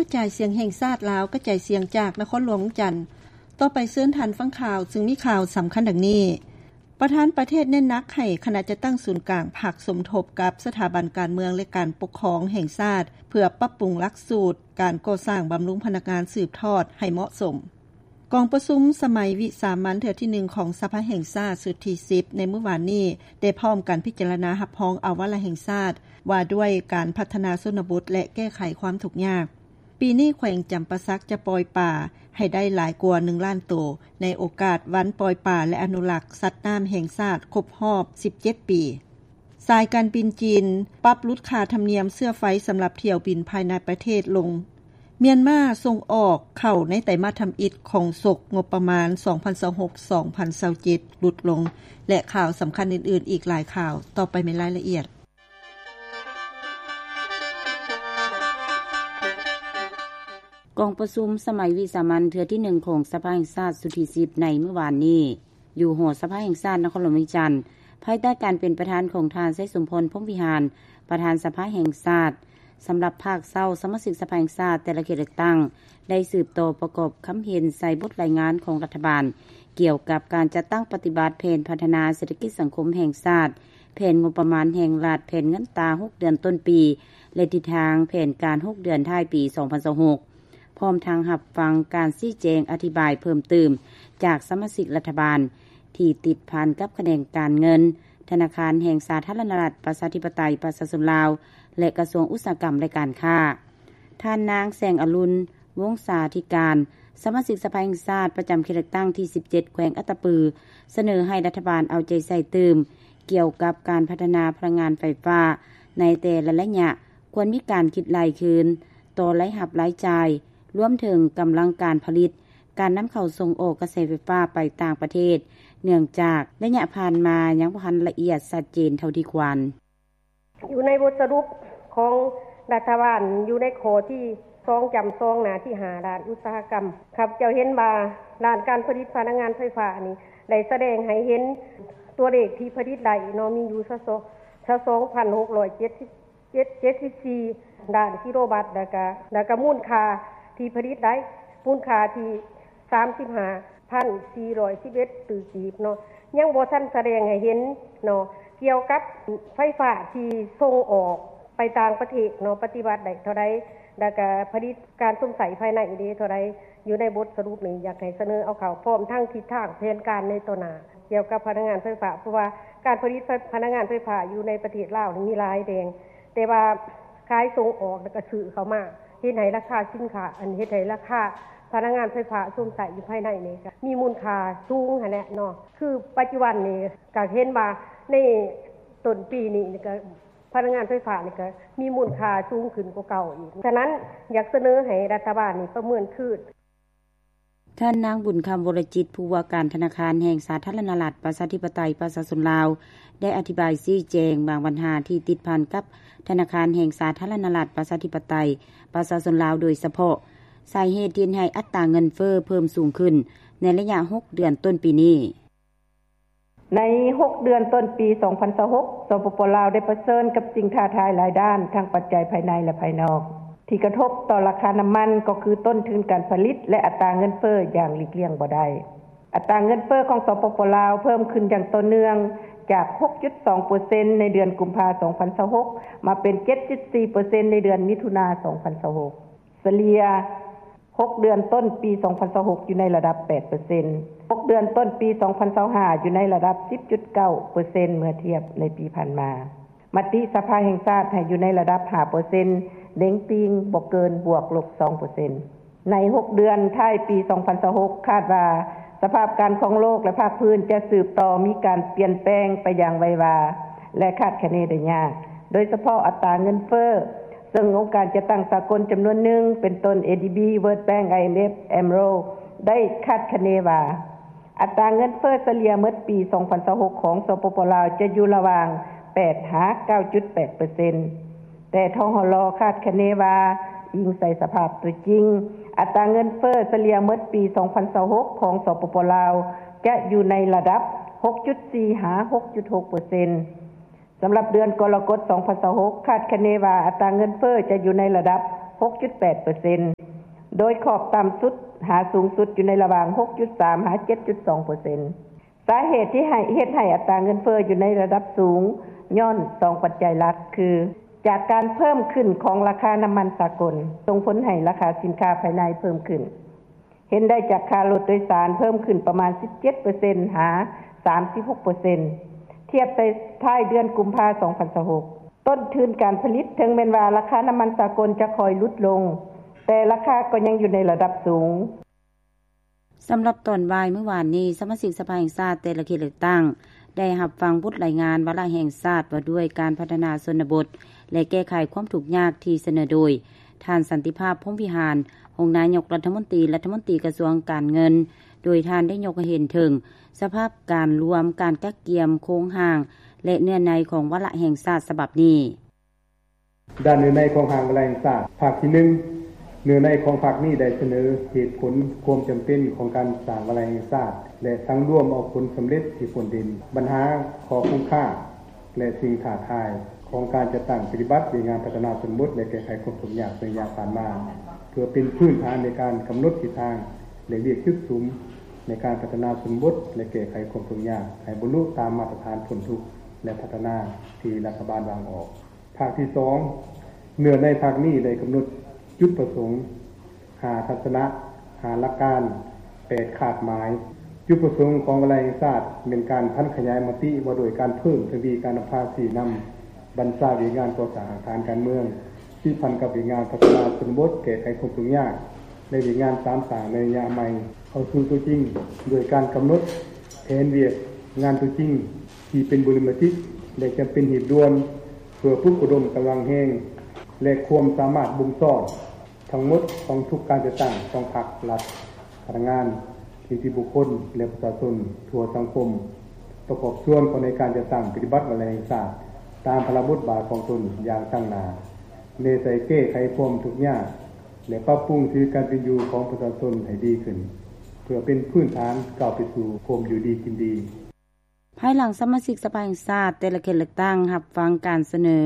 ກະຈາຍສຽງແຫ່ງຊາດລາວ ກະຈາຍສຽງຈາກນະຄອນຫຼວງວຽງຈັນ. ຕໍ່ໄປເຊີນທ່ານຟັງຂ່າວ ຊຶ່ງມີຂ່າວສຳຄັນດັ່ງນີ້. ປະທານປະເທດເນັ້ນໜັກໃຫ້ຄະນະຈັດຕັ້ງສູນກາງພັກສົມທົບກັບສະຖາບັນການເມືອງ ແລະ ການປົກຄອງແຫ່ງຊາດ ເພື່ອປັບປຸງຫຼັກສູດການກໍ່ສ້າງບຳລຸງພະນັກງານສືບທອດໃຫ້ເໝາະສົມ. ກອງປະຊຸມສະໄໝວິສາມັນເທື່ອທີໜຶ່ງຂອງສະພາແຫ່ງຊາດຊຸດທີສິບ ໃນມື້ວານນີ້ ໄດ້ພ້ອມກັນພິຈາລະນາຮັບຮອງເອົາວາລະແຫ່ງຊາດ ວ່າດ້ວຍການພັດທະນາຊົນນະບົດ ແລະ ແກ້ໄຂຄວາມທຸກຍາກ. ປີນີ້ແຂວງຈຳປາສັກຈະປ່ອຍປາໃຫ້ໄດ້ຫຼາຍກວ່າໜຶ່ງລ້ານໂຕ ໃນໂອກາດວັນປ່ອຍປາ ແລະ ອະນຸລັກສັດນ້ຳແຫ່ງຊາດຄົບຮອບສິບເຈັດປີ. ສາຍການບິນຈີນປັບຫຼຸດຄ່າທຳນຽມເຊື້ອໄຟສຳລັບຖ້ຽວບິນພາຍໃນປະເທດລົງ. ມຽນມາສົ່ງອອກເຂົ້າໃນໄຕມາດທຳອິດຂອງສົກງົບປະມານ ສອງພັນຊາວຫົກ ສອງພັນຊາວເຈັດ ຫຼຸດລົງ ແລະ ຂ່າວສຳຄັນອື່ນໆອີກຫຼາຍຂ່າວ. ຕໍ່ໄປແມ່ນລາຍລະອຽດ. ກອງປະຊຸມສະໄໝວິສາມັນເທື່ອທີໜຶ່ງຂອງສະພາແຫ່ງຊາດຊຸດທີສິບ ໃນມື້ວານນີ້ ຢູ່ຫໍສະພາແຫ່ງຊາດນະຄອນຫຼວງວຽງຈັນ ພາຍໃຕ້ການເປັນປະທານຂອງທ່ານ ໄຊສົມພອນ ພົມວິຫານ ປະທານສະພາແຫ່ງຊາດ. ສຳລັບພາກເຊົ້າ, ສະມາຊິກສະພາແຫ່ງຊາດແຕ່ລະເຂດເລືອກຕັ້ງ ໄດ້ສືບຕໍ່ປະກອບຄຳເຫັນໃສ່ບົດລາຍງານຂອງລັດຖະບານ ກ່ຽວກັບການຈັດຕັ້ງປະຕິບັດແຜນພັດທະນາເສດຖະກິດສັງຄົມແຫ່ງຊາດ, ແຜນງົບປະມານແຫ່ງລັດ, ແຜນເງິນຕາຫົກເດືອນຕົ້ນປີ ແລະ ທິດທາງແຜນການຫົກເດືອນທ້າຍປີສອງພັນຊາວຫົກ ພ້ອມທັງຮັບຟັງການຊີ້ແຈງອະທິບາຍເພີ່ມຕື່ມຈາກສະມາຊິກລັດຖະບານ ທີ່ຕິດພັນກັບຂະແໜງການເງິນ ທະນາຄານແຫ່ງສາທາລະນະລັດ ປະຊາທິປະໄຕ ປະຊາຊົນລາວ ແລະ ກະຊວງອຸດສາຫະກຳ ແລະ ການຄ້າ. ທ່ານນາງ ແສງອະລຸນ ວົງສາທິການ ສະມາຊິກສະພາແຫ່ງຊາດປະຈຳເຂດເລືອກຕັ້ງທີສິບເຈັດ ແຂວງອັດຕະປື ສະເໜີໃຫ້ລັດຖະບານເອົາໃຈໃສ່ຕື່ມ ກ່ຽວກັບການພັດທະນາພະລັງງານໄຟຟ້າໃນແຕ່ລະໄລຍະ ຄວນມີການຄິດໄລ່ຄືນຕໍ່ລາຍຮັບລາຍຈ່າຍ, ລວມເຖິງກຳລັງການຜະລິດ, ການນຳເຂົ້າສົ່ງອອກກະແສໄຟຟ້າໄປຕ່າງປະເທດ, ເນື່ອງຈາກໄລຍະຜ່ານມາຍັງບໍ່ທັນລະອຽດຊັດເຈນເທົ່າທີ່ຄວນ. ຢູ່ໃນບົດສະຫຼຸບຂອງລັດຖະບານ ຢູ່ໃນຂໍ້ທີສອງ ຈ້ຳສອງ ໜ້າທີຫ້າ ດ້ານອຸດສາຫະກຳ ຂ້າພະເຈົ້າເຫັນວ່າດ້ານການຜະລິດພະລັງງານໄຟຟ້ານີ້ ໄດ້ສະແດງໃຫ້ເຫັນຕົວເລກທີ່ຜະລິດໄດ້ເນາະ ມີຢູ່ຊາວສອງພັນຫົກຮ້ອຍເຈັດສິບ ເຈັດ ເຈັດສິບສີ່ ລ້ານກິໂລວັດ ແລ້ວກະ ແລ້ວກະມູນຄ່າທີ່ຜະລິດໄດ້ ມູນຄ່າທີ່ສາມສິບຫ້າພັນສີ່ຮ້ອຍສິບເອັດຕື້ກີບເນາະ ຍັງບໍ່ທັນສະແດງໃຫ້ເຫັນເນາະ ກ່ຽວກັບໄຟຟ້າທີ່ສົ່ງອອກໄປຕ່າງປະເທດເນາະ ປະຕິບັດໄດ້ເທົ່າໃດ ແລ້ວກະຜະລິດການຊົມໃຊ້ພາຍໃນເດເທົ່າໃດ ຢູ່ໃນບົດສະຫຼຸບນີ້ ຢາກໃຫ້ສະເໜີເອົາເຂົ້າ ພ້ອມທັງທິດທາງແຜນການໃນຕໍ່ໜ້າ ກ່ຽວກັບພະລັງງານໄຟຟ້າ ເພາະວ່າການຜະລິດພະ ພະລັງງານໄຟຟ້າຢູ່ໃນປະເທດລາວນີ້ມີຫຼາຍແດງ ແຕ່ວ່າຂາຍສົ່ງອອກ ແລ້ວກໍຊື້ເຂົ້າມາ ເຮັດໃຫ້ລາຄາສິນຄ້າ ອັນ ເຮັດໃຫ້ລາຄາພະລັງງານໄຟຟ້າຊົມໃຊ້ຢູ່ພາຍໃນນີ້ກໍມີມູນຄ່າສູງຫັ້ນແຫຼະເນາະ. ຄືປັດຈຸບັນນີ້ກໍເຫັນວ່າໃນຕົ້ນປີນີ້ກໍພະລັງງານໄຟຟ້ານີ້ກໍມີມູນຄ່າສູງຂຶ້ນກວ່າເກົ່າອີກ. ສະນັ້ນ ຢາກສະເໜີໃຫ້ລັດຖະບານນີ້ປະເມີນຄືນ. ທ່ານນາງ ບຸນຄຳ ວໍລະຈິດ ຜູ້ວ່າການທະນາຄານແຫ່ງສາທາລະນະລັດ ປະຊາທິປະໄຕ ປະຊາຊົນລາວ ໄດ້ອະທິບາຍຊີ້ແຈງບາງບັນຫາທີ່ຕິດພັນກັບທະນາຄານແຫ່ງສາທາລະນະລັດ ປະຊາທິປະໄຕ ປະຊາຊົນລາວ ໂດຍສະເພາະສາເຫດທີ່ເຮັດໃຫ້ອັດຕາເງິນເຟີ້ເພີ່ມສູງຂຶ້ນໃນໄລຍະຫົກເດືອນຕົ້ນປີນີ້. ໃນຫົກເດືອນຕົ້ນປີສອງພັນຊາວຫົກ ສປປ ລາວ ໄດ້ປະເຊີນກັບສິ່ງທ້າທາຍຫຼາຍດ້ານ ທັງປັດໄຈພາຍໃນ ແລະ ພາຍນອກ ທີ່ກະທົບຕໍ່ລາຄານ້ຳມັນ ກໍຄືຕົ້ນທຶນການຜະລິດ ແລະ ອັດຕາເງິນເຟີ້ຢ່າງຫຼີກລ່ຽງບໍ່ໄດ້. ອັດຕາເງິນເຟີ້ຂອງ ສປປ ລາວ ເພີ່ມຂຶ້ນຢ່າງຕໍ່ເນື່ອງ ຈາກຫົກຈຸດສອງເປີເຊັນ ໃນເດືອນກຸມພາ ສອງພັນຊາວຫົກ ມາເປັນເຈັດຈຸດສີ່ເປີເຊັນ ໃນເດືອນມິຖຸນາ ສອງພັນຊາວຫົກ. ສະເລ່ຍຫົກເດືອນຕົ້ນປີສອງພັນຊາວຫົກ ຢູ່ໃນລະດັບແປດເປີເຊັນ, ຫົກເດືອນຕົ້ນປີສອງພັນຊາວຫ້າ ຢູ່ໃນລະດັບສິບຈຸດເກົ້າເປີເຊັນ ເມື່ອທຽບໃນປີຜ່ານມາ. ມະຕິສະພາແຫ່ງຊາດໃຫ້ຢູ່ໃນລະດັບຫ້າເປີເຊັນ ເໜັງຕີງບໍ່ເກີນບວກລົບສອງເປີເຊັນ. ໃນຫົກເດືອນທ້າຍປີສອງພັນຊາວຫົກ ຄາດວ່າສະພາບການຂອງໂລກ ແລະ ພາກພື້ນຈະສືບຕໍ່ມີການປ່ຽນແປງໄປຢ່າງໄວວາ ແລະ ຄາດຄະເນໄດ້ຍາກ, ໂດຍສະເພາະອັດຕາເງິນເຟີ້, ເຊິ່ງອົງການຈັດຕັ້ງສາກົນຈຳນວນໜຶ່ງ ເປັນຕົ້ນ ເອດີບີ World Bank ໄອເອັມເອັຟ AMRO ໄດ້ຄາດຄະເນວ່າ ອັດຕາເງິນເຟີ້ສະເລ່ຍໝົດປີສອງພັນຊາວຫົກ ຂອງ ສປປ ລາວ ຈະຢູ່ລະຫວ່າງແປດຫາເກົ້າຈຸດແປດເປີເຊັນ. ແຕ່ ທຫລ ຄາດຄະເນວ່າ ອີງໃສ່ສະພາບຕົວຈິງ, ອັດຕາເງິນເຟີ້ສະເລ່ຍໝົດປີສອງພັນຊາວຫົກ ຂອງ ສປປ ລາວ ຈະຢູ່ໃນລະດັບຫົກຈຸດສີ່ຫາຫົກຈຸດຫົກເປີເຊັນ. ສຳລັບເດືອນກໍລະກົດສອງພັນຊາວຫົກ ຄາດຄະເນວ່າອັດຕາເງິນເຟີ້ຈະຢູ່ໃນລະດັບ ຫົກຈຸດແປດເປີເຊັນ ໂດຍຂອບຕ່ຳສຸດຫາສູງສຸດຢູ່ໃນລະຫວ່າງ ຫົກຈຸດສາມ ຫາ ເຈັດຈຸດສອງເປີເຊັນ. ສາເຫດທີ່ໃຫ້ ເຮັດໃຫ້ອັດຕາເງິນເຟີ້ຢູ່ໃນລະດັບສູງ ຍ້ອນສອງປັດໄຈຫຼັກ ຄື ຈາກການເພີ່ມຂຶ້ນຂອງລາຄານ້ຳມັນສາກົນ ສົ່ງຜົນໃຫ້ລາຄາສິນຄ້າພາຍໃນເພີ່ມຂຶ້ນ. ເຫັນໄດ້ຈາກຄ່າລົດໂດຍສານເພີ່ມຂຶ້ນປະມານ ສິບເຈັດເປີເຊັນ ຫາ ສາມສິບຫົກເປີເຊັນ ທຽບໃສ່ທ້າຍເດືອນກຸມພາ ສອງພັນຊາວຫົກ. ຕົ້ນທຶນການຜະລິດ, ເຖິງແມ່ນວ່າລາຄານ້ຳມັນສາກົນຈະຄ່ອຍຫຼຸດລົງ, ແຕ່ລາຄາກໍຍັງຢູ່ໃນລະດັບສູງ. ສຳລັບຕອນບ່າຍມື້ວານນີ້, ສະມາຊິກສະພາແຫ່ງຊາດແຕ່ລະເຂດເລືອກຕັ້ງ ໄດ້ຮັບຟັງບົດລາຍງານວາລະແຫ່ງຊາດວ່າດ້ວຍການພັດທະນາຊົນນະບົດ ແລະ ແກ້ໄຂຄວາມທຸກຍາກ ທີ່ສະເໜີໂດຍ ທ່ານ ສັນຕິພາບ ພົມວິຫານ ຮອງນາຍົກລັດຖະມົນຕີ, ລັດຖະມົນຕີກະຊວງການເງິນ, ໂດຍທ່ານໄດ້ຍົກໃຫ້ເຫັນເຖິງສະພາບການລວມ, ການກະກຽມ, ໂຄງຮ່າງ ແລະ ເນື້ອໃນຂອງວາລະແຫ່ງຊາດສະບັບນີ້. ດ້ານເນື້ອໃນຂອງຮ່າງວາລະແຫ່ງຊາດ ພາກທີໜຶ່ງ ເນື້ອໃນຂອງພາກນີ້ໄດ້ສະເໜີເຫດຜົນຄວາມຈຳເປັນຂອງການສ້າງວາລະແຫ່ງຊາດ ແລະ ສັງລວມເອົາຜົນສຳເລັດທີ່ພົ້ນເດັ່ນ, ບັນຫາ, ຂໍ້ຄົງຄ້າ ແລະ ສິ່ງທ້າທາຍຂອງການຈັດຕັ້ງປະຕິບັດວຽກງານພັດທະນາຊົນນະບົດ ແລະ ແກ້ໄຂຄວາມທຸກຍາກໃນໄລຍະຜ່ານມາ, ເພື່ອເປັນພື້ນຖານໃນການກຳນົດທິດທາງ ແລະ ວຽກຈຸດສຸມໃນການພັດທະນາຊົນນະບົດ ແລະ ແກ້ໄຂຄວາມທຸກຍາກໃຫ້ບັນລຸຕາມມາດຕະຖານພົ້ນທຸກ ແລະ ພັດທະນາທີ່ລັດຖະບານວາງອອກ. ພາກທີສອງ ເນື້ອໃນພາກນີ້ໄດ້ກຳນົດຈຸດປະສົງ, ຫ້າທັດສະນະ, ຫ້າຫຼັກການ, ແປດຄາດໝາຍ. ຈຸດປະສົງຂອງວາລະແຫ່ງຊາດແມ່ນການຜັນຂະຫຍາຍມະຕິວ່າດ້ວຍການເພີ່ມທະວີການນຳພາຊີ້ນຳບັນຊາວຽກງານກໍ່ສ້າງຮາກຖານການເມືອງ ຕິດພັນກັບວຽກງານພັດທະນາຊົນນະບົດ, ແກ້ໄຂຄວາມທຸກຍາກ ແລະ ວຽກງານສາມສ້າງໃນໄລຍະໃໝ່ ເຂົ້າສູ່ຕົວຈິງ ດ້ວຍການກຳນົດແຜນວຽກງານຕົວຈິງທີ່ເປັນບຸລິມະທິດ ແລະ ຈຳເປັນຮີບດ່ວນ ເພື່ອປຸກລະດົມກຳລັງແຮງ ແລະ ຄວາມສາມາດບົ່ມຊ້ອນ ທັງໝົດຂອງທຸກການຈັດຕັ້ງຂອງພັກ, ລັດ, ພະນັກງານ, ນິຕິບຸກຄົນ ແລະ ປະຊາຊົນທົ່ວສັງຄົມ ປະກອບສ່ວນເຂົ້າໃນການຈັດຕັ້ງປະຕິບັດວາລະແຫ່ງຊາດ ຕາມພາລະບົດບາດຂອງຕົນຢ່າງຕັ້ງໜ້າ, ແນໃສ່ແກ້ໄຂຄວາມທຸກຍາກ ແລະ ປັບປຸງຊີວິດການເປັນຢູ່ຂອງປະຊາຊົນໃຫ້ດີຂຶ້ນ ເພື່ອເປັນພື້ນຖານກ້າວໄປສູ່ຄວາມຢູ່ດີກິນດີ. ພາຍຫຼັງສະມາຊິກສະພາແຫ່ງຊາດແຕ່ລະເຂດເລືອກຕັ້ງຮັບຟັງການສະເໜີ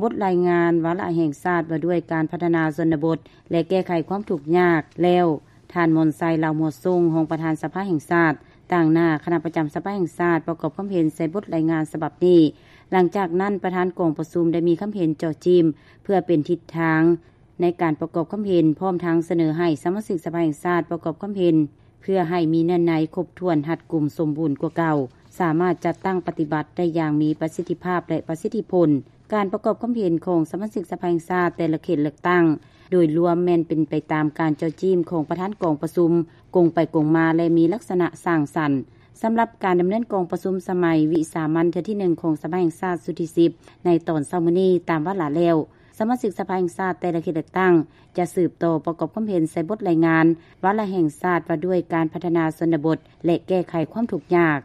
ບົດລາຍງານວາລະແຫ່ງຊາດວ່າດ້ວຍການພັດທະນາຊົນນະບົດ ແລະ ແກ້ໄຂຄວາມທຸກຍາກແລ້ວ, ທ່ານ ມອນໄຊ ລາວຫົວສູງ ຮອງປະທານສະພາແຫ່ງຊາດ ຕາງໜ້າຄະນະປະຈຳສະພາແຫ່ງຊາດ ປະກອບຄວາມເຫັນໃສ່ບົດລາຍງານສະບັບນີ້. ຫຼັງຈາກນັ້ນ, ປະທານກອງປະຊຸມໄດ້ມີຄຳເຫັນເຈາະຈີ້ມ ເພື່ອເປັນທິດທາງ ໃນການປະກອບຄຳເຫັນ, ພ້ອມທັງສະເໜີໃຫ້ສະມາຊິກສະພາແຫ່ງຊາດປະກອບຄຳເຫັນ ເພື່ອໃຫ້ມີເນື້ອໃນຄົບຖ້ວນ, ຮັດກຸມ, ສົມບູນກວ່າເກົ່າ, ສາມາດຈັດຕັ້ງປະຕິບັດໄດ້ຢ່າງມີປະສິດທິພາບ ແລະ ປະສິດທິຜົນ. ການປະກອບຄຳເຫັນຂອງສະມາຊິກສະພາແຫ່ງຊາດແຕ່ລະເຂດເລືອກຕັ້ງ ໂດຍລວມແມ່ນເປັນໄປຕາມການເຈາະຈີ້ມຂອງປະທານກອງປະຊຸມ, ກົງໄປກົງມາ ແລະ ມີລັກສະນະສ້າງສັນ. ສຳລັບການດຳເນີນກອງປະຊຸມສະໄໝວິສາມັນເທື່ອທີໜຶ່ງຂອງສະພາແຫ່ງຊາດຊຸດທີສິບ ໃນຕອນເຊົ້າມື້ນີ້ຕາມວາລະແລ້ວ, ສະມາຊິກສະພາແຫ່ງຊາດແຕ່ລະເຂດເລືອກຕັ້ງ ຈະສືບຕໍ່ປະກອບຄວາມເຫັນໃສ່ບົດລາຍງານວາລະແຫ່ງຊາດວ່າດ້ວຍການພັດທະນາຊົນນະບົດ ແລະ ແກ້ໄຂຄວາມທຸກຍາກ.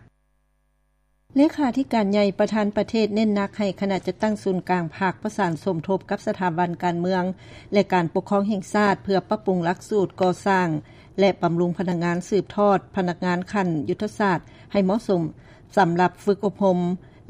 ເລຂາທິການໃຫຍ່ປະທານປະເທດເນັ້ນໜັກໃຫ້ຄະນະຈັດຕັ້ງສູນກາງພັກປະສານສົມທົບກັບສະຖາບັນການເມືອງ ແລະ ການປົກຄອງແຫ່ງຊາດ ເພື່ອປັບປຸງຫຼັກສູດກໍ່ສ້າງ ແລະ ບຳລຸງພະນັກງານສືບທອດພະນັກງານຂັ້ນຍຸດທະສາດໃຫ້ເໝາະສົມ ສຳລັບຝຶກອົບຮົມ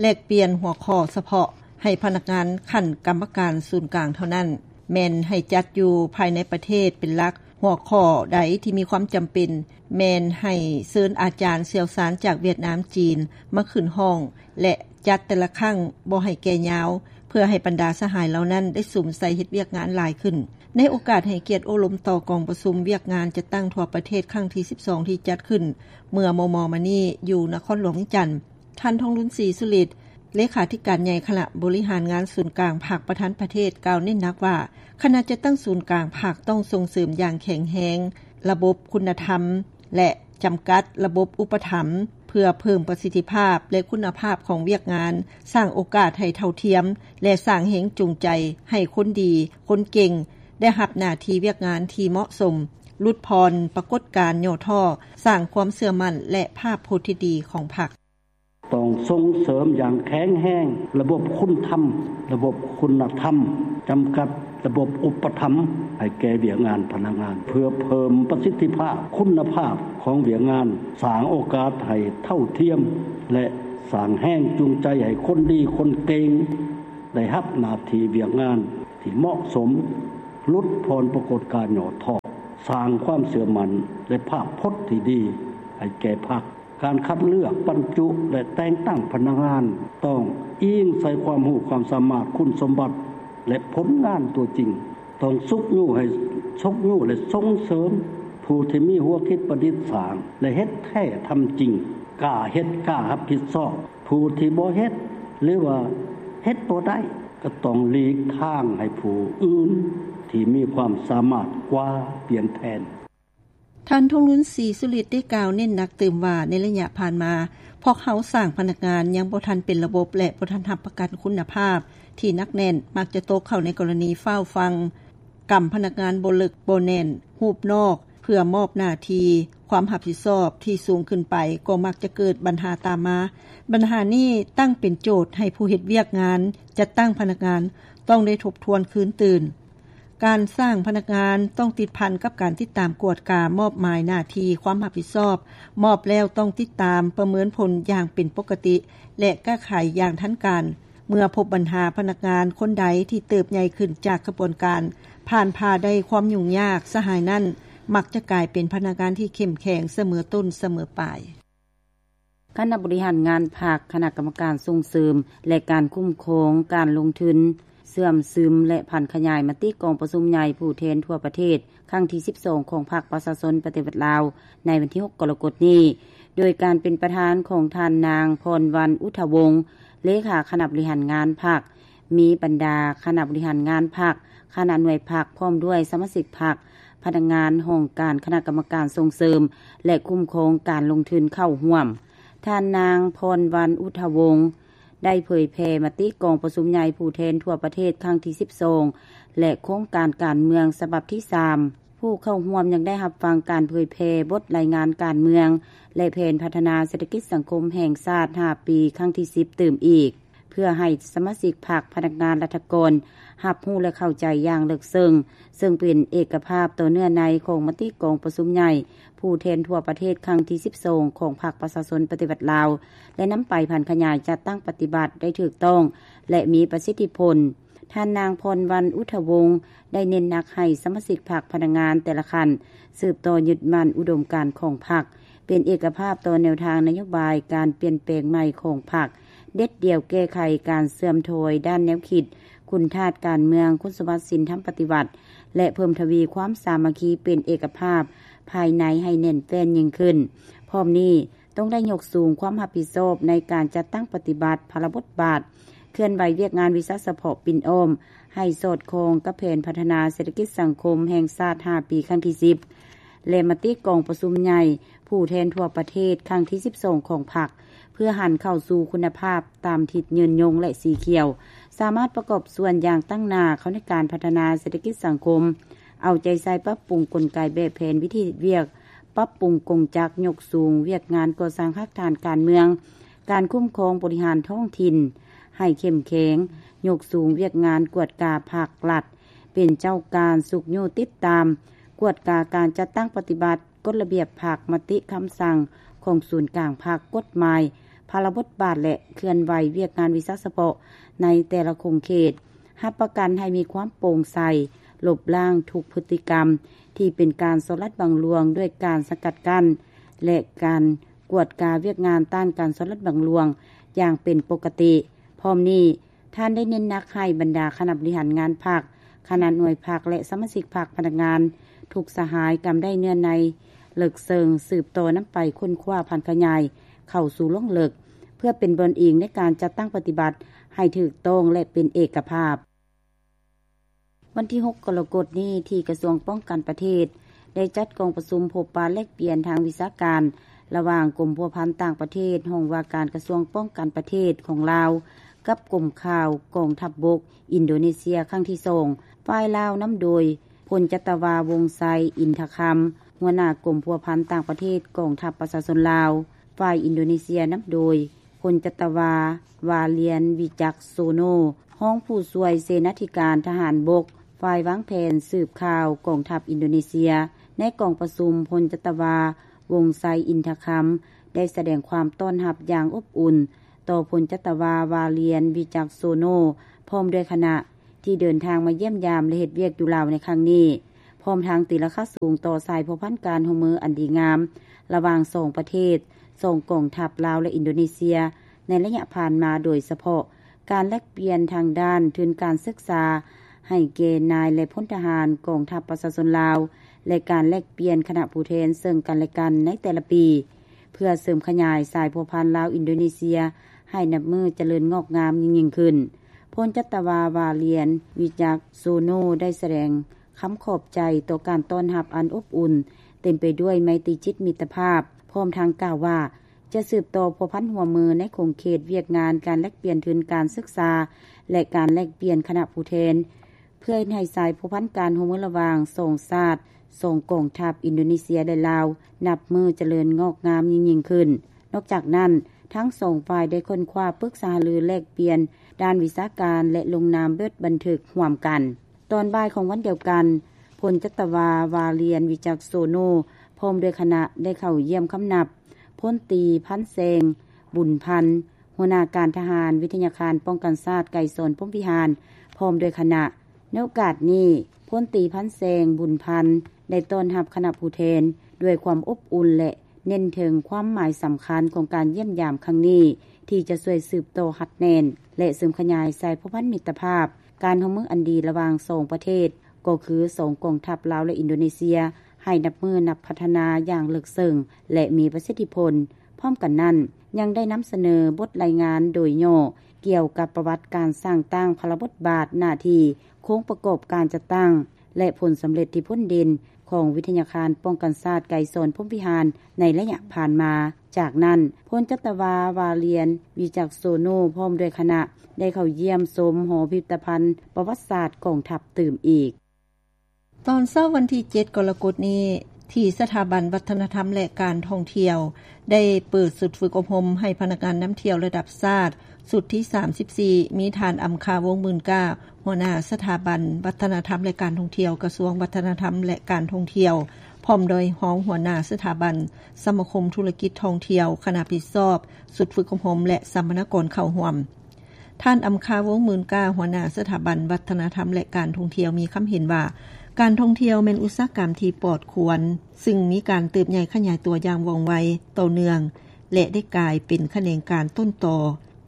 ແລກປ່ຽນຫົວຂໍ້ສະເພາະໃຫ້ພະນັກງານຂັ້ນກຳມະການສູນກາງເທົ່ານັ້ນ, ແມ່ນໃຫ້ຈັດຢູ່ພາຍໃນປະເທດເປັນຫຼັກ. ຫົວຂໍ້ໃດທີ່ມີຄວາມຈຳເປັນ ແມ່ນໃຫ້ເຊີນອາຈານຊ່ຽວຊານຈາກຫວຽດນາມ, ຈີນ ມາຂຶ້ນຫ້ອງ ແລະ ຈັດແຕ່ລະຄັ້ງບໍ່ໃຫ້ແກ່ຍາວ, ເພື່ອໃຫ້ບັນດາສະຫາຍເຫຼົ່ານັ້ນໄດ້ສຸມໃສ່ເຮັດວຽກງານຫຼາຍຂຶ້ນ. ໃນໂອກາດໃຫ້ກຽດໂອ້ລົມຕໍ່ກອງປະຊຸມວຽກງານຈັດຕັ້ງທົ່ວປະເທດຄັ້ງທີສິບສອງ ທີ່ຈັດຂຶ້ນເມື່ອມໍ່ໆມານີ້ຢູ່ນະຄອນຫຼວງວຽງຈັນ, ທ່ານ ທອງລຸນ ສີສຸລິດ ເລຂາທິການໃຫຍ່ຄະນະບໍລິຫານງານສູນກາງພັກປະທານປະເທດ ກ່າວເນັ້ນໜັກວ່າ ຄະນະຈັດຕັ້ງສູນກາງພັກຕ້ອງສົ່ງເສີມຢ່າງແຂງແຮງລະບົບຄຸນນະທຳ ແລະ ຈຳກັດລະບົບອຸປະຖຳ ເພື່ອເພີ່ມປະສິດທິພາບ ແລະ ຄຸນນະພາບຂອງວຽກງານ, ສ້າງໂອກາດໃຫ້ເທົ່າທຽມ ແລະ ສ້າງແຮງຈູງໃຈໃຫ້ຄົນດີ, ຄົນເກັ່ງ ໄດ້ຮັບໜ້າທີ່ວຽກງານທີ່ເໝາະສົມ, ຫຼຸດຜ່ອນປາກົດການຫຍໍ້ທໍ້, ສ້າງຄວາມເຊື່ອໝັ້ນ ແລະ ພາບພົດທີ່ດີຂອງພັກ. ຕ້ອງສົ່ງເສີມຢ່າງແຂງແຮງລະບົບຄຸນທຳ, ລະບົບຄຸນນະທຳ, ຈຳກັດລະບົບອຸປະຖຳໃຫ້ແກ່ວຽກງານພະນັກງານ ເພື່ອເພີ່ມປະສິດທິພາບ, ຄຸນນະພາບຂອງວຽກງານ, ສ້າງໂອກາດໃຫ້ເທົ່າທຽມ ແລະ ສ້າງແຮງຈູງໃຈໃຫ້ຄົນດີຄົນເກັ່ງໄດ້ຮັບໜ້າທີ່ວຽກງານທີ່ເໝາະສົມ ຫຼຸດຜ່ອນປາກົດການຫຍໍ້ທໍ້, ສ້າງຄວາມເຊື່ອໝັ້ນ ແລະ ພາບພົດທີ່ດີໃຫ້ແກ່ພັກ. ການຄັດເລືອກ, ບັນຈຸ ແລະ ແຕ່ງຕັ້ງພະນັກງານ ຕ້ອງອີງໃສ່ຄວາມຮູ້ຄວາມສາມາດ, ຄຸນສົມບັດ ແລະ ຜົນງານຕົວຈິງ. ຕ້ອງຊຸກຍູ້ໃຫ້, ຊຸກຍູ້ ແລະ ສົ່ງເສີມຜູ້ທີ່ມີຫົວຄິດປະດິດສ້າງ ແລະ ເຮັດແທ້ທຳຈິງ, ກ້າເຮັດ, ກ້າຮັບຜິດຊອບ. ຜູ້ທີ່ບໍ່ເຮັດ ຫຼືວ່າເຮັດບໍ່ໄດ້ ກໍຕ້ອງຫຼີກທາງໃຫ້ຜູ້ອື່ນທີ່ມີຄວາມສາມາດກວ່າປ່ຽນແທນ. ທ່ານ ທອງລຸນ ສີສຸລິດ ໄດ້ກ່າວເນັ້ນໜັກຕື່ມວ່າ ໃນໄລຍະຜ່ານມາ ພວກເຮົາສ້າງພະນັກງານຍັງບໍ່ທັນເປັນລະບົບ ແລະ ບໍ່ທັນຮັບປະກັນຄຸນນະພາບທີ່ໜັກແໜ້ນ, ມັກຈະຕົກເຂົ້າໃນກໍລະນີຟ້າວຟັ່ງ, ກຳພະນັກງານບໍ່ເລິກບໍ່ແໜ້ນຮູບນອກ ເພື່ອມອບໜ້າທີ່ຄວາມຮັບຜິດຊອບທີ່ສູງຂຶ້ນໄປ ກໍມັກຈະເກີດບັນຫາຕາມມາ. ບັນຫານີ້ຕັ້ງເປັນໂຈດໃຫ້ຜູ້ເຮັດວຽກງານຈັດຕັ້ງພະນັກງານຕ້ອງໄດ້ທົບທວນຄືນຕື່ມ. ການສ້າງພະນັກງານຕ້ອງຕິດພັນກັບການຕິດຕາມກວດກາມອບໝາຍໜ້າທີ່ຄວາມຮັບຜິດຊອບ, ມອບແລ້ວຕ້ອງຕິດຕາມປະເມີນຜົນຢ່າງເປັນປົກກະຕິ ແລະ ແກ້ໄຂຢ່າງທັນການ. ເມື່ອພົບບັນຫາພະນັກງານຄົນໃດທີ່ເຕີບໃຫຍ່ຂຶ້ນຈາກຂະບວນການ ຜ່ານຜ່າໄດ້ຄວາມຫຍຸ້ງຍາກສະຫາຍນັ້ນ ມັກຈະກາຍເປັນພະນັກງານທີ່ເຂັ້ມແຂງສະເໝີຕົ້ນສະເໝີປາຍ. ຄະນະບໍລິຫານງານພັກ, ຄະນະກຳມະການສົ່ງເສີມ ແລະ ການຄຸ້ມຄອງການລົງທຶນ ເຊື່ອມຊຶມ ແລະ ຜັນຂະຫຍາຍມະຕິກອງປະຊຸມໃຫຍ່ຜູ້ແທນທົ່ວປະເທດ ຄັ້ງທີສິບສອງ ຂອງພັກປະຊາຊົນປະຕິວັດລາວ ໃນວັນທີຫົກ ກໍລະກົດນີ້ ໂດຍການເປັນປະທານຂອງທ່ານນາງ ພອນວັນ ອຸດທະວົງ ເລຂາຄະນະບໍລິຫານງານພັກ, ມີບັນດາຄະນະບໍລິຫານງານພັກ, ຄະນະໜ່ວຍພັກ ພ້ອມດ້ວຍສະມາຊິກພັກ, ພະນັກງານຫ້ອງການຄະນະກຳມະການສົ່ງເສີມ ແລະ ຄຸ້ມຄອງການລົງທຶນເຂົ້າຮ່ວມ. ທ່ານນາງ ພອນວັນ ອຸດທະວົງ ໄດ້ເຜີຍແຜ່ມະຕິກອງປະຊຸມໃຫຍ່ຜູ້ແທນທົ່ວປະເທດຄັ້ງທີສິບສອງ ແລະ ໂຄງການການເມືອງສະບັບທີສາມ. ຜູ້ເຂົ້າຮ່ວມຍັງໄດ້ຮັບຟັງການເຜີຍແຜ່ບົດລາຍງານການເມືອງ ແລະ ແຜນພັດທະນາເສດຖະກິດສັງຄົມແຫ່ງຊາດຫ້າປີ ຄັ້ງທີສິບຕື່ມອີກ ເພື່ອໃຫ້ສະມາຊິກພັກ, ພະນັກງານ, ລັດຖະກອນ ຮັບຮູ້ ແລະ ເຂົ້າໃຈຢ່າງເລິກເຊິ່ງ, ເຊິ່ງເປັນເອກະພາບຕໍ່ເນື້ອໃນຂອງມະຕິກອງປະຊຸມໃຫຍ່ຜູ້ແທນທົ່ວປະເທດຄັ້ງທີສິບສອງ ຂອງພັກປະຊາຊົນປະຕິວັດລາວ ແລະ ນຳໄປຜັນຂະຫຍາຍຈັດຕັ້ງປະຕິບັດໄດ້ຖືກຕ້ອງ ແລະ ມີປະສິດທິຜົນ. ທ່ານນາງ ພອນວັນ ອຸດທະວົງ ໄດ້ເນັ້ນໜັກໃຫ້ສະມາຊິກພັກ, ພະນັກງານແຕ່ລະຂັ້ນ ສືບຕໍ່ຍຶດໝັ້ນອຸດົມການຂອງພັກ, ເປັນເອກະພາບຕໍ່ແນວທາງນະໂຍບາຍການປ່ຽນແປງໃໝ່ຂອງພັກ, ເດັດດ່ຽວແກ້ໄຂການເສື່ອມຖອຍດ້ານແນວຄິດ, ຄຸນທາດການເມືອງ, ຄຸນສົມບັດສິນທຳປະຕິວັດ ແລະ ເພີ່ມທະວີຄວາມສາມັກຄີເປັນເອກະພາບພາຍໃນໃຫ້ແໜ້ນແຟ້ນຍິ່ງຂຶ້ນ. ພ້ອມນີ້, ຕ້ອງໄດ້ຍົກສູງຄວາມຮັບຜິດຊອບໃນການຈັດຕັ້ງປະຕິບັດພາລະບົດບາດ, ເຄື່ອນໄຫວວຽກງານວິຊາສະເພາະປິ່ນອ້ອມ ໃຫ້ສອດຄ່ອງກັບແຜນພັດທະນາເສດຖະກິດສັງຄົມແຫ່ງຊາດຫ້າປີ ຄັ້ງທີສິບ ແລະ ມະຕິກອງປະຊຸມໃຫຍ່ຜູ້ແທນທົ່ວປະເທດຄັ້ງທີສິບສອງ ຂອງພັກ ເພື່ອຫັນເຂົ້າສູ່ຄຸນນະພາບຕາມທິດຍືນຍົງ ແລະ ສີຂຽວ, ສາມາດປະກອບສ່ວນຢ່າງຕັ້ງໜ້າເຂົ້າໃນການພັດທະນາເສດຖະກິດສັງຄົມ, ເອົາໃຈໃສ່ປັບປຸງກົນໄກແບບແຜນວິທີເຮັດວຽກ, ປັບປຸງກົງຈັກ, ຍົກສູງວຽກງານກໍ່ສ້າງຮາກຖານການເມືອງ, ການຄຸ້ມຄອງບໍລິຫານທ້ອງຖິ່ນໃຫ້ເຂັ້ມແຂງ, ຍົກສູງວຽກງານກວດກາພາກລັດ ເປັນເຈົ້າການຊຸກຍູ້ຕິດຕາມ, ກວດກາການຈັດຕັ້ງປະຕິບັດກົດລະບຽບພັກ, ມະຕິຄຳສັ່ງຂອງສູນກາງພັກ, ກົດໝາຍ, ພາລະບົດບາດ ແລະ ເຄື່ອນໄຫວວຽກງານວິຊາສະເພາະໃນແຕ່ລະຂົງເຂດ. ຮັບປະກັນໃຫ້ມີຄວາມໂປ່ງໃສ, ລົບລ້າງທຸກພຶດຕິກຳທີ່ເປັນການສໍ້ລາດບັງຫຼວງດ້ວຍການສະກັດກັ້ນ ແລະ ການກວດກາວຽກງານຕ້ານການສໍ້ລາດບັງຫຼວງຢ່າງເປັນປົກກະຕິ. ພ້ອມນີ້, ທ່ານໄດ້ເນັ້ນໜັກໃຫ້ບັນດາຄະນະບໍລິຫານງານພັກ, ຄະນະໜ່ວຍພັກ ແລະ ສະມາຊິກພັກ, ພະນັກງານ ທຸກສະຫາຍກຳໄດ້ເນື້ອໃນເລິກເຊິ່ງ, ສືບຕໍ່ນຳໄປຄົ້ນຄວ້າຜັນຂະຫຍາຍເຂົ້າສູ່ລົງເລິກ ເພື່ອເປັນບ່ອນອີງໃນການຈັດຕັ້ງປະຕິບັດໃຫ້ຖືກຕ້ອງ ແລະ ເປັນເອກະພາບ. ວັນທີຫົກ ກໍລະກົດນີ້ ທີ່ກະຊວງປ້ອງກັນປະເທດ ໄດ້ຈັດກອງປະຊຸມພົບປະແລກປ່ຽນທາງວິຊາການ ລະຫວ່າງກົມພົວພັນຕ່າງປະເທດ ຫ້ອງວ່າການກະຊວງປ້ອງກັນປະເທດຂອງລາວ ກັບກົມຂ່າວກອງທັບບົກອິນໂດເນເຊຍ ຄັ້ງທີສອງ. ຝ່າຍລາວນຳໂດຍ ພົນຈັດຕະວາ ວົງໄຊ ອິນທະຄຳ ຫົວໜ້າກົມພົວພັນຕ່າງປະເທດກອງທັບປະຊາຊົນລາວ, ຝ່າຍອິນໂດເນເຊຍນຳໂດຍ ພົນຈັດຕະວາ ວາລຽນ ວິຈັກໂຊໂນ ຮອງຜູ້ຊ່ວຍເສນາທິການທະຫານບົກ ຝ່າຍວາງແຜນສືບຂ່າວກອງທັບອິນໂດເນເຊຍ. ໃນກອງປະຊຸມ, ພົນຈັດຕະວາ ວົງໄຊ ອິນທະຄຳ ໄດ້ສະແດງຄວາມຕ້ອນຮັບຢ່າງອົບອຸ່ນຕໍ່ພົນຈັດຕະວາ ວາລຽນ ວິຈັກໂຊໂນ ພ້ອມດ້ວຍຄະນະ ທີ່ເດີນທາງມາຢ້ຽມຢາມ ແລະ ເຮັດວຽກຢູ່ລາວໃນຄັ້ງນີ້, ພ້ອມທັງຕີລາຄາສູງຕໍ່ສາຍພົວພັນການຮ່ວມມືອັນດີງາມ ລະຫວ່າງສອງປະເທດ, ສອງກອງທັບລາວ ແລະ ອິນໂດເນເຊຍ ໃນໄລຍະຜ່ານມາ, ໂດຍສະເພາະການແລກປ່ຽນທາງດ້ານທຶນການສຶກສາໃຫ້ແກ່ນາຍ ແລະ ພົນທະຫານກອງທັບປະຊາຊົນລາວ ແລະ ການແລກປ່ຽນຄະນະຜູ້ແທນເຊິ່ງກັນ ແລະ ກັນໃນແຕ່ລະປີ ເພື່ອເສີມຂະຫຍາຍສາຍພົວພັນລາວ-ອິນໂດເນເຊຍໃຫ້ນັບມື້ຈະເລີນງອກງາມຍິ່ງໆຂຶ້ນ. ພົນຈັດຕະວາ ວາລຽນ ວິຈັກໂຊໂນ ໄດ້ສະແດງຄຳຂອບໃຈຕໍ່ການຕ້ອນຮັບອັນອົບອຸ່ນ, ເຕັມໄປດ້ວຍໄມຕີຈິດມິດຕະພາບ, ພ້ອມທັງກ່າວວ່າ ຈະສືບຕໍ່ພົວພັນຮ່ວມມືໃນຂົງເຂດວຽກງານການແລກປ່ຽນທຶນການສຶກສາ ແລະ ການແລກປ່ຽນຄະນະຜູ້ແທນ, ເພື່ອເຮັດໃຫ້ສາຍພົວພັນການຮ່ວມມືລະຫວ່າງສອງຊາດ, ສອງກອງທັບ ອິນໂດເນເຊຍ ແລະ ລາວ ນັບມື້ຈະເລີນງອກງາມຍິ່ງໆຂຶ້ນ. ນອກຈາກນັ້ນ, ທັງສອງຝ່າຍໄດ້ຄົ້ນຄວ້າປຶກສາຫາລືແລກປ່ຽນດ້ານວິຊາການ ແລະ ລົງນາມບົດບັນທຶກຮ່ວມກັນ. ຕອນບ່າຍຂອງວັນດຽວກັນ, ພົນຈັດຕະວາ ວາລຽນ ວິຈັກໂຊໂນ ພ້ອມດ້ວຍຄະນະໄດ້ເຂົ້າຢ້ຽມຄຳນັບ ພົນຕີ ພັນແຊງ ບຸນພັນ ຫົວໜ້າການທະຫານວິທະຍາຄານປ້ອງກັນຊາດໄກສອນ ພົມວິຫານ ພ້ອມດ້ວຍຄະນະ. ໃນໂອກາດນີ້, ພົນຕີ ພັນແຊງ ບຸນພັນ ໄດ້ຕ້ອນຮັບຄະນະຜູ້ແທນດ້ວຍຄວາມອົບອຸ່ນ ແລະ ເນັ້ນເຖິງຄວາມໝາຍສຳຄັນຂອງການຢ້ຽມຢາມຄັ້ງນີ້ ທີ່ຈະຊ່ວຍສືບຕໍ່ຮັດແໜ້ນ ແລະ ເສີມຂະຫຍາຍສາຍພົວພັນມິດຕະພາບ ການຮ່ວມມືອັນດີລະຫວ່າງສອງປະເທດ, ກໍຄືສອງກອງທັບລາວ ແລະ ອິນໂດເນເຊຍ ໃຫ້ນັບມື້ນັບພັດທະນາຢ່າງເລິກເຊິ່ງ ແລະ ມີປະສິດທິຜົນ. ພ້ອມກັນນັ້ນ, ຍັງໄດ້ນຳສະເໜີບົດລາຍງານໂດຍຫຍໍ້ກ່ຽວກັບປະຫວັດການສ້າງຕັ້ງ, ພາລະບົດບາດ, ໜ້າທີ່, ໂຄງປະກອບການຈັດຕັ້ງ ແລະ ຜົນສຳເລັດທີ່ພົ້ນເດັ່ນຂອງວິທະຍາຄານປ້ອງກັນຊາດໄກສອນ ພົມວິຫານ ໃນໄລຍະຜ່ານມາ. ຈາກນັ້ນ, ພົນຈັດຕະວາ ວາລຽນ ວິຈັກໂຊໂນ ພ້ອມດ້ວຍຄະນະ ໄດ້ເຂົ້າຢ້ຽມຊົມຫໍພິພິທະພັນປະຫວັດສາດກອງທັບຕື່ມອີກ. ຕອນເຊົ້າວັນທີເຈັດ ກໍລະກົດນີ້, ທີ່ສະຖາບັນວັດທະນະທຳ ແລະ ການທ່ອງທ່ຽວ ໄດ້ເປີດຊຸດຝຶກອົບຮົມໃຫ້ພະນັກງານນຳທ່ຽວລະດັບຊາດ ຊຸດທີສາມສິບສີ່ ມີທ່ານ ອຳຄາ ວົງໝື່ນກ້າ ຫົວໜ້າສະຖາບັນວັດທະນະທຳ ແລະ ການທ່ອງທ່ຽວ ກະຊວງວັດທະນະທຳ ແລະ ການທ່ອງທ່ຽວ ພ້ອມດ້ວຍຮອງຫົວໜ້າສະຖາບັນສະມາຄົມທຸລະກິດທ່ອງທ່ຽວ, ຄະນະຜິດຊອບຊຸດຝຶກອົບຮົມ ແລະ ສຳມະນາກອນເຂົ້າຮ່ວມ. ທ່ານ ອຳຄາ ວົງໝື່ນກ້າ ຫົວໜ້າສະຖາບັນວັດທະນະທຳ ແລະ ການທ່ອງທ່ຽວ ມີຄຳເຫັນວ່າ ການທ່ອງທ່ຽວແມ່ນອຸດສາຫະກຳທີ່ປອດຄວນ, ຊຶ່ງມີການເຕີບໃຫຍ່ຂະຫຍາຍຕົວຢ່າງວ່ອງໄວ, ຕໍ່ເນື່ອງ ແລະ ໄດ້ກາຍເປັນຂະແໜງການຕົ້ນຕໍ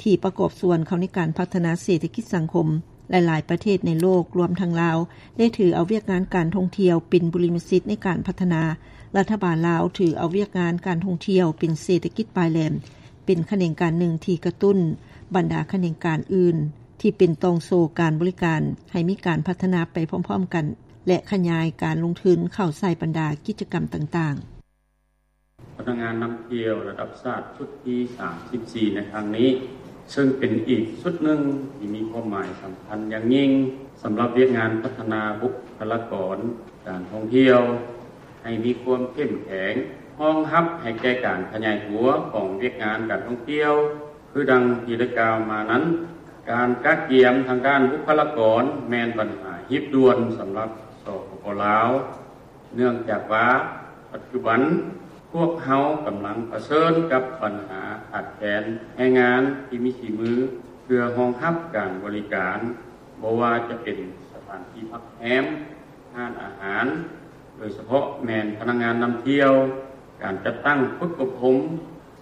ທີ່ປະກອບສ່ວນເຂົ້າໃນການພັດທະນາເສດຖະກິດສັງຄົມ. ຫຼາຍໆປະເທດໃນໂລກ, ລວມທັງລາວ, ໄດ້ຖືເອົາວຽກງານການທ່ອງທ່ຽວເປັນບຸລິມະສິດໃນການພັດທະນາ. ລັດຖະບານລາວຖືເອົາວຽກງານການທ່ອງທ່ຽວເປັນເສດຖະກິດປາຍແຫຼມ, ເປັນຂະແໜງການໜຶ່ງທີ່ກະຕຸ້ນບັນດາຂະແໜງການອື່ນ ທີ່ເປັນຕ່ອງໂສ້ການບໍລິການ ໃຫ້ມີການພັດທະນາໄປພ້ອມໆກັນ ແລະ ຂະຫຍາຍການລົງທຶນເຂົ້າໃສ່ບັນດາກິດຈະກຳຕ່າງໆ. ພະນັກງານນຳທ່ຽວລະດັບຊາດຊຸດທີສາມສິບສີ່ໃນຄັ້ງນີ້, ເຊິ່ງເປັນອີກຊຸດໜຶ່ງທີ່ມີຄວາມໝາຍສຳຄັນຢ່າງຍິ່ງ ສຳລັບວຽກງານພັດທະນາບຸກຄະລາກອນການທ່ອງທ່ຽວ ໃຫ້ມີຄວາມເຂັ້ມແຂງ, ຮອງຮັບໃຫ້ແກ່ການຂະຫຍາຍຕົວຂອງວຽກງານການທ່ອງທ່ຽວ. ຄືດັ່ງທີ່ໄດ້ກ່າວມານັ້ນ, ການກະກຽມທາງດ້ານບຸກຄະລາກອນແມ່ນບັນຫາຮີບດ່ວນສຳລັບ ສປປ ລາວ, ເນື່ອງຈາກວ່າປັດຈຸບັນພວກເຮົາກຳລັງປະເຊີນກັບບັນຫາຂາດແຄນແຮງງານທີ່ມີສີມື ເພື່ອຮອງຮັບການບໍລິການ, ບໍ່ວ່າຈະເປັນສະຖານທີ່ພັກແຮມ, ຮ້ານອາຫານ, ໂດຍສະເພາະແມ່ນພະນັກງານນຳທ່ຽວ, ການຈັດຕັ້ງຝຶກອົບຮົມ,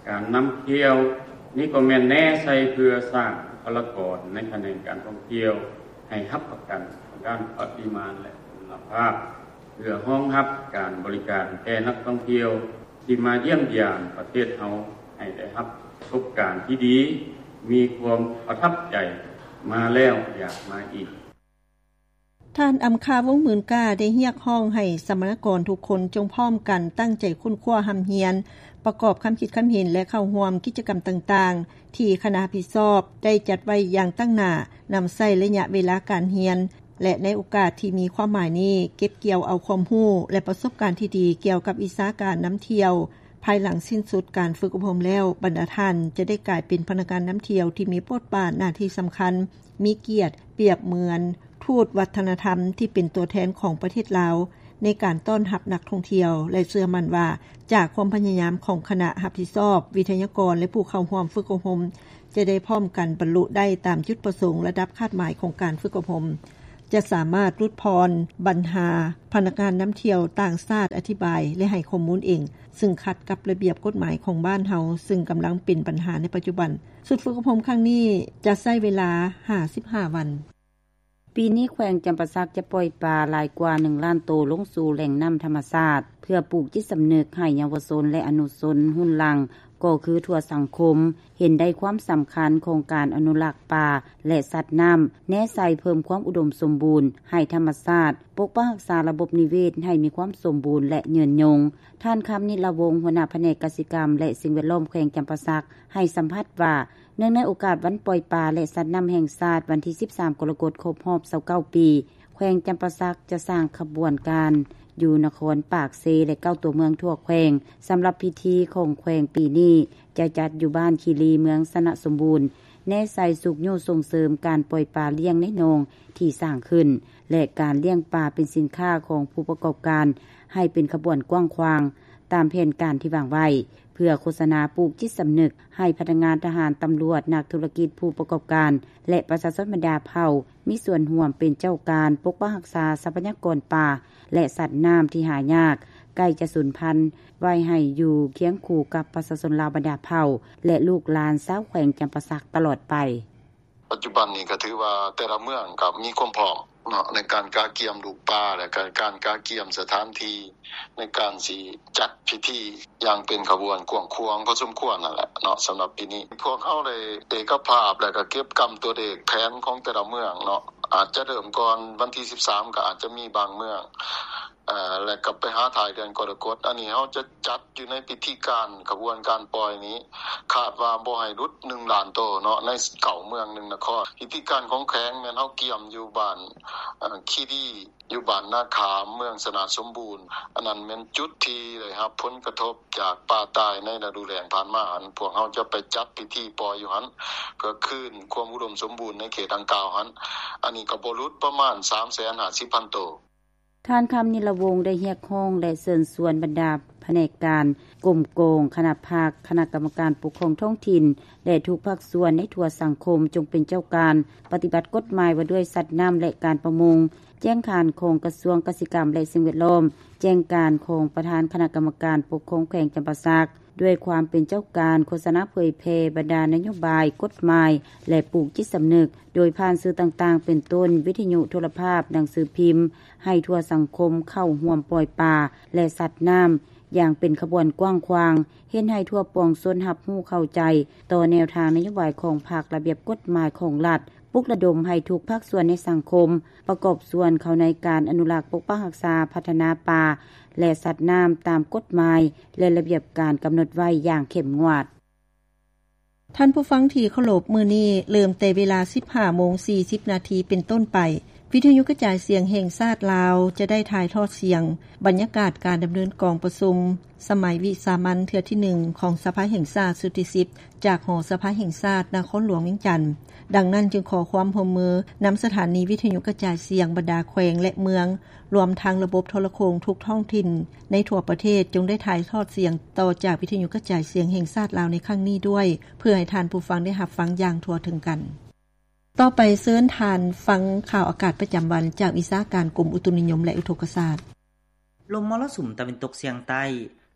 ການນຳທ່ຽວ, ນີ້ກໍແມ່ນແນໃສ່ເພື່ອສ້າງບຸກຄະລາກອນໃນຂະແໜງການທ່ອງທ່ຽວ ໃຫ້ຮັບປະກັນທາງດ້ານປະລິມານ ແລະ ຄຸນນະພາບ, ເພື່ອຮອງຮັບການບໍລິການແກ່ນັກທ່ອງທ່ຽວທີ່ມາຢ້ຽມຢາມປະເທດເຮົາ ໃຫ້ໄດ້ຮັບປະສົບການທີ່ດີ, ມີຄວາມປະທັບໃຈ, ມາແລ້ວຢາກມາອີກ. ທ່ານ ອຳຄາ ວົງໝື່ນກ້າ ໄດ້ຮຽກຮ້ອງໃຫ້ສຳມະນາກອນທຸກຄົນ ຈົ່ງພ້ອມກັນຕັ້ງໃຈຄົ້ນຄວ້າຮ່ຳຮຽນ, ປະກອບຄຳຄິດຄຳເຫັນ ແລະ ເຂົ້າຮ່ວມກິດຈະກຳຕ່າງໆ ທີ່ຄະນະຮັບຜິດຊອບໄດ້ຈັດໄວ້ຢ່າງຕັ້ງໜ້າ, ນຳໃຊ້ໄລຍະເວລາການຮຽນ ແລະ ໃນໂອກາດທີ່ມີຄວາມໝາຍນີ້ ເກັບກ່ຽວເອົາຄວາມຮູ້ ແລະ ປະສົບການທີ່ດີກ່ຽວກັບວິຊາການນຳທ່ຽວ. ພາຍຫຼັງສິ້ນສຸດການຝຶກອົບຮົມແລ້ວ, ບັນດາທ່ານຈະໄດ້ກາຍເປັນພະນັກງານນຳທ່ຽວທີ່ມີບົດບາດໜ້າທີ່ສຳຄັນ, ມີກຽດ, ປຽບເໝືອນທູດວັດທະນະທຳທີ່ເປັນຕົວແທນຂອງປະເທດລາວ ໃນການຕ້ອນຮັບນັກທ່ອງທ່ຽວ ແລະ ເຊື່ອໝັ້ນວ່າ ຈາກຄວາມພະຍາຍາມຂອງຄະນະຮັບຜິດຊອບ, ວິທະຍາກອນ ແລະ ຜູ້ເຂົ້າຮ່ວມຝຶກອົບຮົມ ຈະໄດ້ພ້ອມກັນບັນລຸໄດ້ຕາມຈຸດປະສົງລະດັບຄາດໝາຍຂອງການຝຶກອົບຮົມ. ຈະສາມາດຫຼຸດຜ່ອນບັນຫາພະນັກງານນຳທ່ຽວຕ່າງຊາດອະທິບາຍ ແລະ ໃຫ້ຂໍ້ມູນເອງ ຊຶ່ງຂັດກັບລະບຽບກົດໝາຍຂອງບ້ານເຮົາ ຊຶ່ງກຳລັງເປັນບັນຫາໃນປັດຈຸບັນ. ຊຸດຝຶກອົບຮົມຄັ້ງນີ້ຈະໃຊ້ເວລາຫ້າສິບຫ້າວັນ. ປີນີ້ແຂວງຈຳປາສັກຈະປ່ອຍປາຫຼາຍກວ່າໜຶ່ງລ້ານໂຕລົງສູ່ແຫຼ່ງນ້ຳທຳມະຊາດ ເພື່ອປູກຈິດສຳນຶກໃຫ້ເຍົາວະຊົນ ແລະ ອະນຸຊົນຮຸ່ນຫຼັງ ກໍຄືທົ່ວສັງຄົມ ເຫັນໄດ້ຄວາມສຳຄັນຂອງການອະນຸລັກປາ ແລະ ສັດນ້ຳ ແນໃສ່ເພີ່ມຄວາມອຸດົມສົມບູນໃຫ້ທຳມະຊາດ, ປົກປັກຮັກສາລະບົບນິເວດໃຫ້ມີຄວາມສົມບູນ ແລະ ຍືນຍົງ. ທ່ານ ຄຳນິດລະວົງ ຫົວໜ້າພະແນກກະສິກຳ ແລະ ສິ່ງແວດລ້ອມແຂວງຈຳປາສັກ ໃຫ້ສຳພັດວ່າ ເນື່ອງໃນໂອກາດວັນປ່ອຍປາ ແລະ ສັດນ້ຳແຫ່ງຊາດ ວັນທີສິບສາມ ກໍລະກົດ ຄົບຮອບຊາວເກົ້າປີ, ແຂວງຈຳປາສັກຈະສ້າງຂະບວນການຢູ່ນະຄອນປາກເຊ ແລະ ເກົ້າຕົວເມືອງທົ່ວແຂວງ. ສຳລັບພິທີຂອງແຂວງປີນີ້ ຈະຈັດຢູ່ບ້ານຄີລີ ເມືອງຊະນະສົມບູນ, ແນໃສ່ຊຸກຍູ້ສົ່ງເສີມການປ່ອຍປາລ້ຽງໃນໜອງທີ່ສ້າງຂຶ້ນ ແລະ ການລ້ຽງປາເປັນສິນຄ້າຂອງຜູ້ປະກອບການ ໃຫ້ເປັນຂະບວນກວ້າງຂວາງ ຕາມແຜນການທີ່ວາງໄວ້. ເພື່ອໂຄສະນາປູກຈິດສຳນຶກໃຫ້ພະນັກງານ, ທະຫານ, ຕຳຫຼວດ, ນັກທຸລະກິດ, ຜູ້ປະກອບການ ແລະ ປະຊາຊົນບັນດາເຜົ່າ ມີສ່ວນຮ່ວມເປັນເຈົ້າການປົກປັກຮັກສາຊັບພະຍາກອນປ່າ ແລະ ສັດນ້ຳທີ່ຫາຍາກ ໃກ້ຈະສູນພັນ ໄວ້ໃຫ້ຢູ່ຄຽງຄູ່ກັບປະຊາຊົນລາວບັນດາເຜົ່າ ແລະ ລູກຫຼານຊາວແຂວງຈຳປາສັກຕະຫຼອດໄປ. ປັດຈຸບັນນີ້ກໍຖືວ່າແຕ່ລະເມືອງກໍມີຄວາມພ້ອມເນາະ ໃນການກະກຽມລູກປ່າ ແລະ ການກະກຽມສະຖານທີ່ ໃນການຊິຈັດພິທີຢ່າງເປັນຂະບວນກວ້າງຂວາງພໍສົມຄວນນັ້ນແຫຼະເນາະ. ສຳລັບປີນີ້ ພວກເຮົາໄດ້ເອກະພາບ ແລະ ກໍເກັບກຳຕົວເລກແຜນຂອງແຕ່ລະເມືອງເນາະ, ອາດຈະເລີ່ມກ່ອນວັນທີສິບສາມ ກໍອາດຈະມີບາງເມືອງ ເອີ ແລະ ກໍໄປຫາທ້າຍເດືອນກໍລະກົດ. ອັນນີ້ເຮົາຈະຈັດຢູ່ໃນພິທີການຂະບວນການປ່ອຍນີ້ ຄາດວ່າບໍ່ໃຫ້ຫຼຸດໜຶ່ງລ້ານໂຕເນາະ ໃນເກົ້າເມືອງ ໜຶ່ງນະຄອນ. ພິທີການຂອງແຂວງແມ່ນເຮົາກຽມຢູ່ບ້ານ ເອີ ຄີດີ ຢູ່ບ້ານນາຂາມ ເມືອງຊະນະສົມບູນ. ອັນນັ້ນແມ່ນຈຸດທີ່ໄດ້ຮັບຜົນກະທົບຈາກປ່າຕາຍໃນລະດູແລ້ງຜ່ານມາ. ອັນພວກເຮົາຈະໄປຈັດພິທີປ່ອຍຢູ່ຫັ້ນ ເພື່ອຄືນຄວາມອຸດົມສົມບູນໃນເຂດດັ່ງກ່າວຫັ້ນ. ອັນນີ້ກໍບໍ່ຫຼຸດປະມານສາມແສນຫ້າສິບພັນໂຕ. ທ່ານ ຄຳນິດລະວົງ ໄດ້ຮຽກຮ້ອງ ແລະ ເຊີນຊວນບັນດາພະແນກການ, ກົມກອງ, ຄະນະພັກ, ຄະນະກຳມະການປົກຄອງທ້ອງຖິ່ນ ແລະ ທຸກພາກສ່ວນໃນທົ່ວສັງຄົມ ຈົ່ງເປັນເຈົ້າການປະຕິບັດກົດໝາຍວ່າດ້ວຍສັດນ້ຳ ແລະ ການປະມົງ, ແຈ້ງການຂອງກະຊວງກະສິກຳ ແລະ ສິ່ງແວດລ້ອມ, ແຈ້ງການຂອງປະທານຄະນະກຳມະການປົກຄອງແຂວງຈຳປາສັກ, ດ້ວຍຄວາມເປັນເຈົ້າການໂຄສະນາເຜີຍແຜ່ບັນດານະໂຍບາຍ, ກົດໝາຍ ແລະ ປູກຈິດສຳນຶກ ໂດຍຜ່ານສື່ຕ່າງໆ ເປັນຕົ້ນ ວິທະຍຸ, ໂທລະພາບ, ໜັງສືພິມ ໃຫ້ທົ່ວສັງຄົມເຂົ້າຮ່ວມປ່ອຍປາ ແລະ ສັດນ້ຳຢ່າງເປັນຂະບວນກວ້າງຂວາງ, ເຮັດໃຫ້ທົ່ວປວງຊົນຮັບຮູ້ເຂົ້າໃຈຕໍ່ແນວທາງນະໂຍບາຍຂອງພັກ, ລະບຽບກົດໝາຍຂອງລັດ, ປຸກລະດົມໃຫ້ທຸກພາກສ່ວນໃນສັງຄົມປະກອບສ່ວນເຂົ້າໃນການອະນຸລັກ, ປົກປັກຮັກສາ, ພັດທະນາປ່າ ແລະ ສັດນ້ຳຕາມກົດໝາຍ ແລະ ລະບຽບການກຳນົດໄວ້ຢ່າງເຂັ້ມງວດ. ທ່ານຜູ້ຟັງທີ່ເຄົາລົບ, ມື້ນີ້ເລີ່ມແຕ່ເວລາສິບຫ້າໂມງສີ່ສິບນາທີເປັນຕົ້ນໄປ, ວິທະຍຸກະຈາຍສຽງແຫ່ງຊາດລາວຈະໄດ້ຖ່າຍທອດສຽງບັນຍາກາດການດຳເນີນກອງປະຊຸມສະໄໝວິສາມັນເທື່ອທີໜຶ່ງຂອງສະພາແຫ່ງຊາດຊຸດທີສິບ ຈາກຫໍສະພາແຫ່ງຊາດນະຄອນຫຼວງວຽງຈັນ. ດັ່ງນັ້ນຈຶ່ງຂໍຄວາມຮ່ວມມືນຳສະຖານີວິທະຍຸກະຈາຍສຽງບັນດາແຂວງ ແລະ ເມືອງ ລວມທັງລະບົບໂທລະໂຄ່ງທຸກທ້ອງຖິ່ນໃນທົ່ວປະເທດ ຈົ່ງໄດ້ຖ່າຍທອດສຽງຕໍ່ຈາກວິທະຍຸກະຈາຍສຽງແຫ່ງຊາດລາວໃນຄັ້ງນີ້ດ້ວຍ ເພື່ອໃຫ້ທ່ານຜູ້ຟັງໄດ້ຮັບຟັງຢ່າງທົ່ວເຖິງກັນ. ຕໍ່ໄປເຊີນທ່ານຟັງຂ່າວອາກາດປະຈຳວັນຈາກວິຊາການກົມອຸຕຸນິຍົມ ແລະ ອຸທົກກະສາດ. ລົມມໍລະສຸມຕາເວັນຕົກສຽງໃຕ້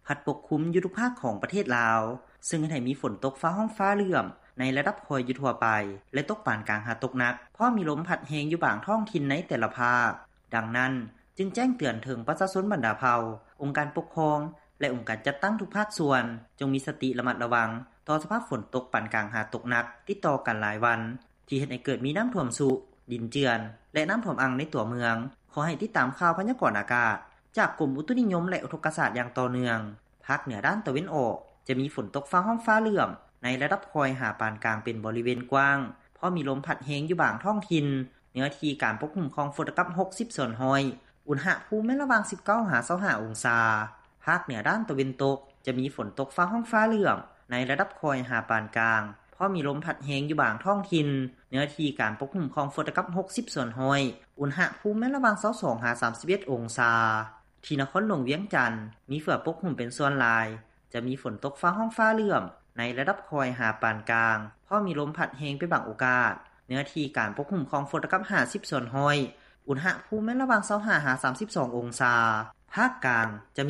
ພັດປົກຄຸມຢູ່ທຸກພາກຂອງປະເທດລາວ, ເຊິ່ງເຮັດໃຫ້ມີຝົນຕົກຟ້າຮ້ອງຟ້າເຫຼື້ອມໃນລະດັບຄ່ອຍຢູ່ທົ່ວໄປ ແລະ ຕົກປານກາງຫາຕົກໜັກ, ພ້ອມມີລົມພັດແຮງຢູ່ບາງທ້ອງຖິ່ນໃນແຕ່ລະພາກ. ດັ່ງນັ້ນ, ຈຶ່ງແຈ້ງເຕືອນເຖິງປະຊາຊົນບັນດາເຜົ່າ, ອົງການປົກຄອງ ແລະ ອົງການຈັດຕັ້ງທຸກພາກສ່ວນ, ຈົ່ງມີສະຕິລະມັດລະວັງຕໍ່ສະພາບຝົນຕົກປານກາງຫາຕົກໜັກຕິດຕໍ່ກັນຫຼາຍວັນ, ທີ່ເຮັດໃຫ້ເກີດມີນ້ຳຖ້ວມຊຸ, ດິນເຈື່ອນ ແລະ ນ້ຳຖ້ວມອັ່ງໃນຕົວເມືອງ. ຂໍໃຫ້ຕິດຕາມຂ່າວພະຍາກອນອາກາດຈາກກົມອຸຕຸນິຍົມ ແລະ ອຸທົກກະສາດຢ່າງຕໍ່ເນື່ອງ. ພາກເໜືອດ້ານຕາເວັນອອກ ຈະມີຝົນຕົກຟ້າຮ້ອງຟ້າເຫຼື້ອມໃນລະດັບຄ່ອຍຫາປານກາງເປັນບໍລິເວນກວ້າງ, ພ້ອມມີລົມພັດແຮງຢູ່ບາງທ້ອງຖິ່ນ. ເນື້ອທີ່ການປົກຄຸມຂອງຝົນຕະກັບຫົກສິບສ່ວນຮ້ອຍ, ອຸນຫະພູມແມ່ນລະຫວ່າງສິບເກົ້າຫາຊາວຫ້າອົງສາ. ພາກເໜືອດ້ານຕາເວັນຕົກ ຈະມີຝົນຕົກຟ້າຮ້ອງຟ້າເຫຼື້ອມໃນລະດັບຄ່ອຍຫາປານກາງ, ພ້ອມມີລົມພັດແຮງຢູ່ບາງທ້ອງຖິ່ນ. ເນື້ອທີ່ການປົກຄຸມຂອງຝົນຕະກັບຫົກສິບສ່ວນຮ້ອຍ, ອຸນຫະພູມແມ່ນລະຫວ່າງຊາວສອງຫາສາມສິບເອັດອົງສາ. ທີ່ນະຄອນຫຼວງວຽງຈັນ ມີເຝືອປົກຄຸມເປັນສ່ວນຫຼາຍ, ຈະມີຝົນຕົກຟ້າຮ້ອງຟ້າເຫຼື້ອມໃນລະດັບຄ່ອຍຫາປານກາງ, ພ້ອມມີລົມພັດແຮງເປັນບາງໂອກາດ. ເນື້ອທີ່ການປົກຄຸມຂອງຝົນຕະກັບຫ້າສິບສ່ວນຮ້ອຍ, ອຸນຫະພູມ ແມ່ນລະຫວ່າງ ຊາວຫ້າ ຫາ ສາມສິບສອງ ອົງສາ. ພາກກາງ ຈະ